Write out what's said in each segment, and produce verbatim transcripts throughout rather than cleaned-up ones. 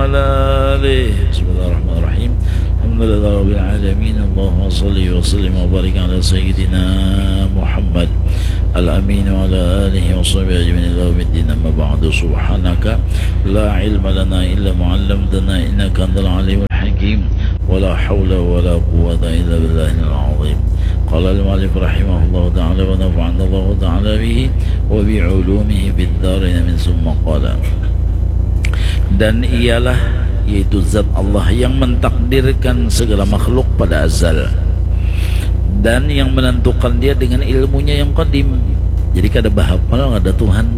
وعلى آله. بسم الله الرحمن الرحيم. الحمد لله رب العالمين. اللهم صل وسلم وبارك على سيدنا محمد الأمين وعلى آله وصحبه أجمعين إلى يوم الدين. أما بعد، سبحانك لا علم لنا إلا ما علمتنا إنك أنت العليم الحكيم. ولا حول ولا قوة إلا بالله العظيم. قال المؤلف رحمه الله تعالى ونفعنا الله تعالى به وبعلومه في الدارين. من ثم قال. Dan ialah, yaitu zat Allah yang mentakdirkan segala makhluk pada azal dan yang menentukan dia dengan ilmunya yang qadim. Jadi kada bahapal ada Tuhan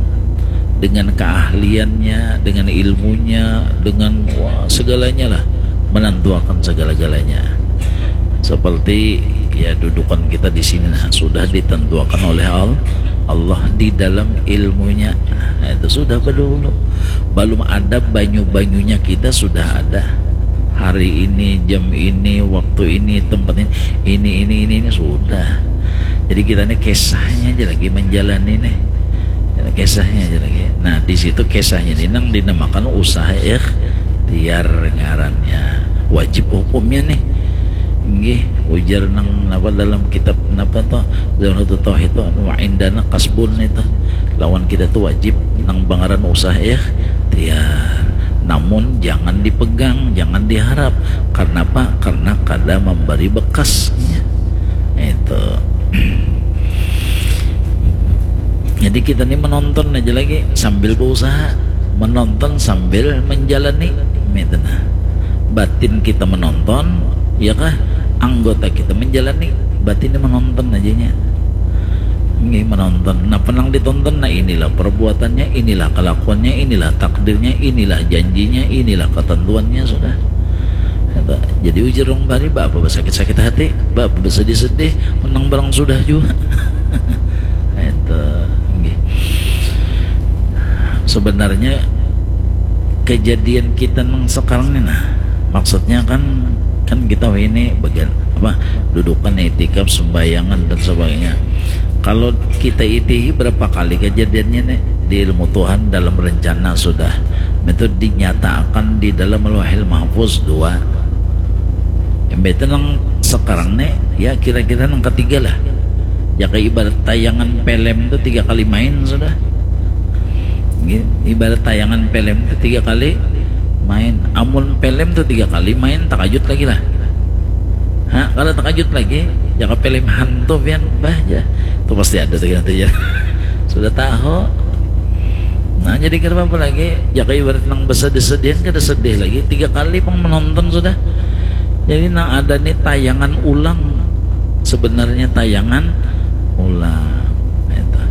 dengan keahliannya, dengan ilmunya, dengan, wah, segalanya lah, menentuakan segala-galanya. Seperti, ya, dudukan kita di sini, nah, sudah ditentuakan oleh Al-, Allah di dalam ilmunya. Nah, itu sudah berdahulu. Belum ada banyu-banyunya, kita sudah ada. Hari ini, jam ini, waktu ini, tempat ini, ini, ini, ini, ini sudah. Jadi kita ini kisahnya aja lagi menjalani nih. Kisahnya aja lagi. Nah, di situ kisahnya ini nang dinamakan usaha ikhtiar ngarannya. Wajib hukumnya nih. Nggih, ujar nang napa dalam kitab napa tuh, dalam satu tauhid tuh, wa indana kasbun itu. Lawan kita tuh wajib nang bangaran usaha ikhtiar. Namun jangan dipegang, jangan diharap. Karena apa? Karena kada memberi bekasnya. Itu. Jadi kita nih menonton aja lagi sambil berusaha, menonton sambil menjalani, gitu nah. Batin kita menonton, ya kah? Anggota kita menjalani, batin ini menonton aja nya. Ini menonton. Nah, penang ditonton, nah, inilah perbuatannya, inilah kelakuannya, inilah takdirnya, inilah janjinya, inilah ketentuannya sudah. Jadi ujar orang bari, apa besakit-sakit hati, apa besedih-sedih, menang barang sudah juga. Itu, nggih. Sebenarnya kejadian kita nang sekarang ini, nah, maksudnya kan, kan kita ini bagian apa, dudukan, itikaf, sembayangan dan sebagainya. Kalau kita itihi berapa kali kejadiannya nih di ilmu Tuhan dalam rencana sudah, itu dinyatakan di dalam Lauhil Mahfuz dua. Yang itu nang sekarang nih, ya, kira-kira nang ketiga lah. Ya, kayak ibarat tayangan film tuh tiga kali main sudah. Ibarat tayangan film tuh tiga kali main. Amun film tuh tiga kali main, takajut lagi lah. Ha, kalau takajut lagi, ya, ke film hantu pian, bah, ya. Tuh pasti ada tuh nanti ya. Sudah tahu. Nah, jadi kenapa lagi? Ya, kayak ibarat nang besedih-sedihan, kada sedih lagi. Tiga kali pang menonton sudah. Jadi, nang ada nih tayangan ulang. Sebenarnya tayangan ulang. Itu.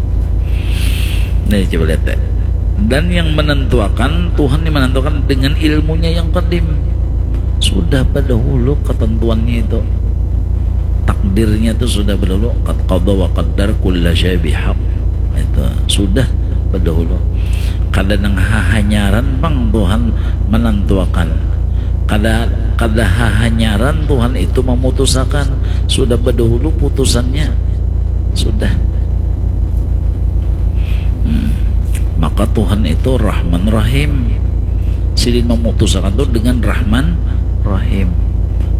Nih, coba lihat deh. Dan yang menentuakan, Tuhan yang menentuakan dengan ilmunya yang qadim. Sudah berdahulu ketentuannya itu. Takdirnya itu sudah berdahulu. Qad qada wa qaddar kulla syai' bihaq. Itu sudah berdahulu. Kada nang hahanyaran pang Tuhan menentuakan. Kada, kada hahanyaran Tuhan itu memutusakan. Sudah berdahulu putusannya. Sudah. Hmm. Maka Tuhan itu Rahman Rahim. Sidin memutusakan tu dengan Rahman Rahim.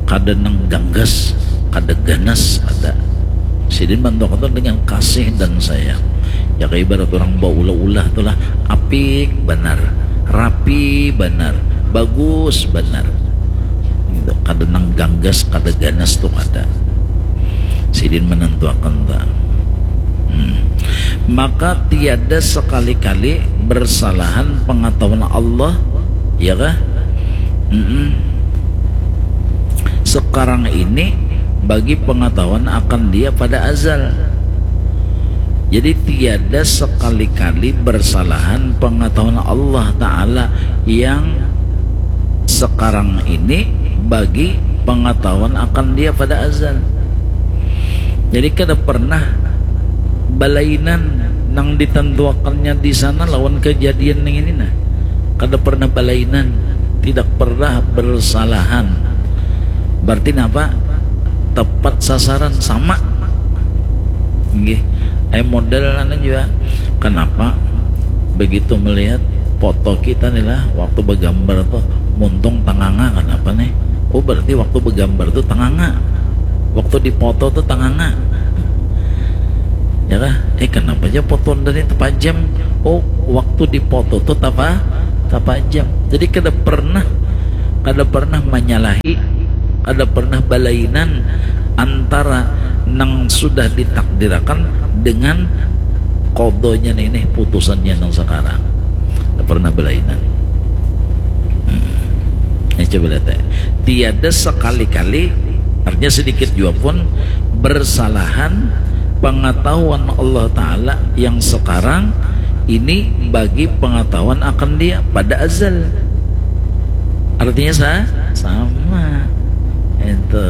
Kada nang ganggas, kada ganas, ada. Sidin bantuakan tu dengan kasih dan sayang. Ya, kayak ibarat orang baulah-ulah tu lah, apik banar, rapi banar, bagus banar. Gitu. Kada nang ganggas, kada ganas tu kada. Sidin menentuakan ta. Hmm. Maka tiada sekali-kali bersalahan pengetahuan Allah, ya kah? Mm-mm. Sekarang ini bagi pengetahuan akan Dia pada azal. Jadi tiada sekali-kali bersalahan pengetahuan Allah Ta'ala yang sekarang ini bagi pengetahuan akan Dia pada azal. Jadi kada pernah balainan nang ditentuakannya di sana lawan kejadian yang ini, nah. Kada pernah balainan, tidak pernah bersalahan. Berarti napa? Tepat sasaran, sama. Nggih. Ai model anu jua. Kenapa? Begitu melihat foto kita nih lah, waktu begambar tuh muntung tanganga, kenapa nih? Oh, berarti waktu begambar tuh tanganga, waktu dipoto tuh tanganga, ya kah? Eh, kenapa aja foto dari tepajam? Oh, waktu dipoto tuh tapa tapajam. Jadi kada pernah, kada pernah menyalahi, kada pernah balainan antara nang sudah ditakdirakan dengan kodonya nih, nih putusannya nang sekarang. Kada pernah balainan. Hmm. Ini coba lihat ya. Tiada sekali-kali, artinya sedikit juga pun, bersalahan pengetahuan Allah Ta'ala yang sekarang ini bagi pengetahuan akan dia pada azal. Artinya sah? Sama. Itu.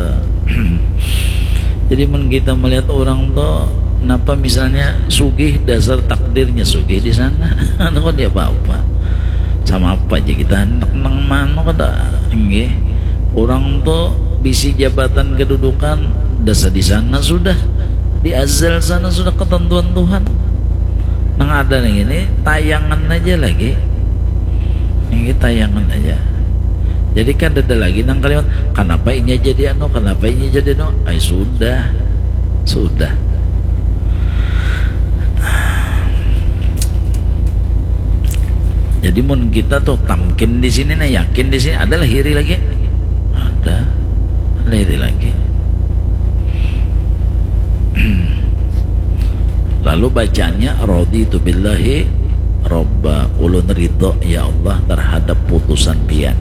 Jadi mun kita melihat orang tuh, napa misalnya sugih, dasar takdirnya sugih di sana. Anu kan dia apa-apa. Sama apa aja kita hendak nang mano kada. Nggih. Orang tuh bisi jabatan kedudukan, dasar di sana sudah. Di azal sana sudah ketentuan Tuhan. Nang ada nih ini tayangan aja lagi. Ini tayangan aja. Jadi kan ada lagi nang kalimat, kenapa ini jadi anu, kenapa ini jadi anu. Ay, sudah. Sudah. Jadi mun kita tuh tamkin di sini, nah, yakin di sini, ada lahiri lagi. Ada lahiri lagi. Lalu bacaannya, raditu billahi robba, ulun ridho ya Allah terhadap putusan pian,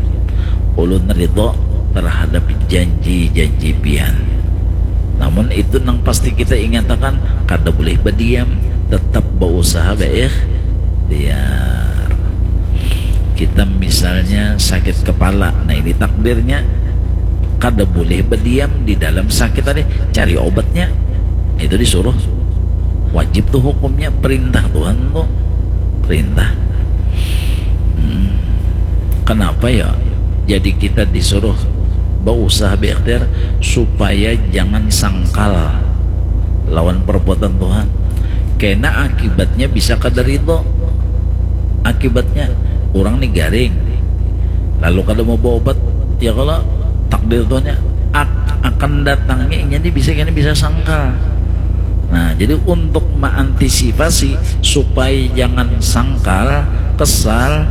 ulun ridho terhadap janji-janji pian. Namun itu nang pasti kita ingatakan, kada boleh berdiam, tetap berusaha berikhtiar. Kita misalnya sakit kepala, nah ini takdirnya, kada boleh berdiam di dalam sakit tadi, cari obatnya. Itu disuruh, wajib tuh hukumnya, perintah Tuhan tuh, perintah. Hmm. Kenapa ya? Jadi kita disuruh berusaha berikhtiar supaya jangan sangkal lawan perbuatan Tuhan. Kena akibatnya bisa kada ridho. Akibatnya, orang nih garing, lalu kada mau berobat, ya kalau takdir Tuhannya ak- akan datangnya inya nih bisa, kena bisa sangkal. Nah, jadi untuk mengantisipasi supaya jangan sangkal, kesal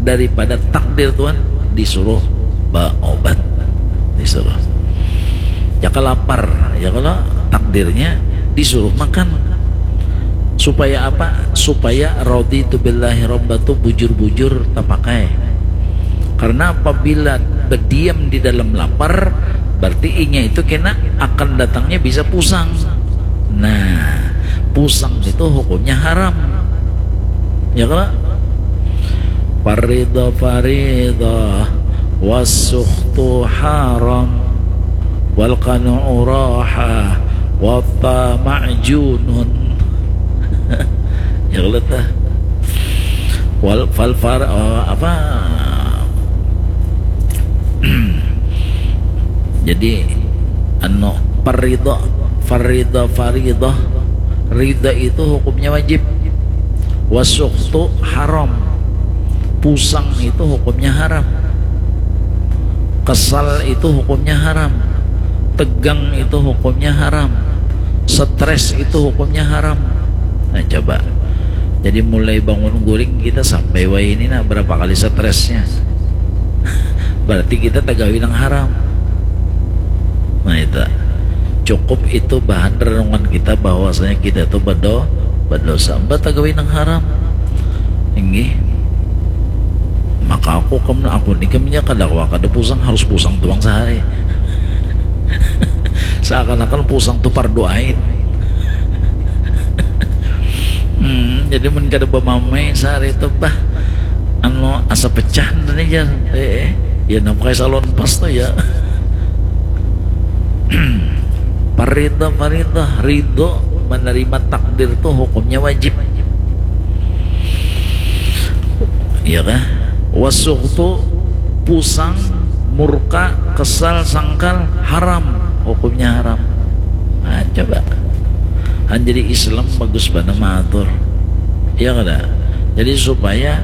daripada takdir Tuhan, disuruh berobat, disuruh. Ya kalau lapar, ya kalau takdirnya disuruh makan. Supaya apa? Supaya raditu billahi robba tuh bujur-bujur tapakai. Karena apabila berdiam di dalam lapar, berarti inya itu kena akan datangnya bisa pusang. Nah, pusang itu hukumnya haram. Ya kalau parida parida, wasukhtu haram, wal qanu'u raha, wa tama'u junun. Ya kalau tah. Wal fal far, eh, apa? Jadi anu, parida, farida, faridah, rida itu hukumnya wajib. Wasukhtu haram. Pusang itu hukumnya haram. Kesal itu hukumnya haram. Tegang itu hukumnya haram. Stres itu hukumnya haram. Nah, coba. Jadi mulai bangun guring kita sampai wayah ini, nah, berapa kali stresnya? Berarti kita tagawi nang haram. Nah, itu. Cukup itu bahan renungan kita bahwasanya kita itu bedo, berdosa. Mbah tagawi nang haram. Inggih. Maka aku kam, aku ni kam nya kada kawa kada pusang, harus pusang tuang sehari. Seakan-akan pusang tu fardu ain. Hmm, jadi mun kada bamamai sehari tu, bah, anu, asa pecah nih, jar. Eh, eh. Ya, nang pakai salon pas tu, ya. Parida, parida, ridho menerima takdir tu hukumnya wajib. Iya kah? Wasukhtu, pusang, murka, kesal, sangkal, haram. Hukumnya haram. Nah, coba. Han, jadi Islam bagus banar maatur. Iya kada? Jadi supaya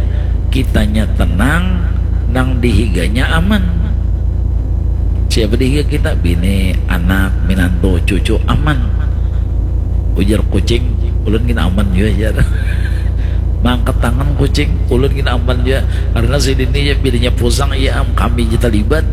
Kitanya tenang, nang di higanya aman. Siapa di higa kita? Bini, anak, minantu, cucu, aman. Ujar kucing, ulun gin aman jua, jar. Mangkat tangan kucing, ulun gin aman jua. Karena sidin ni, ya, bilanya pusang, ya am, kami ja talibat.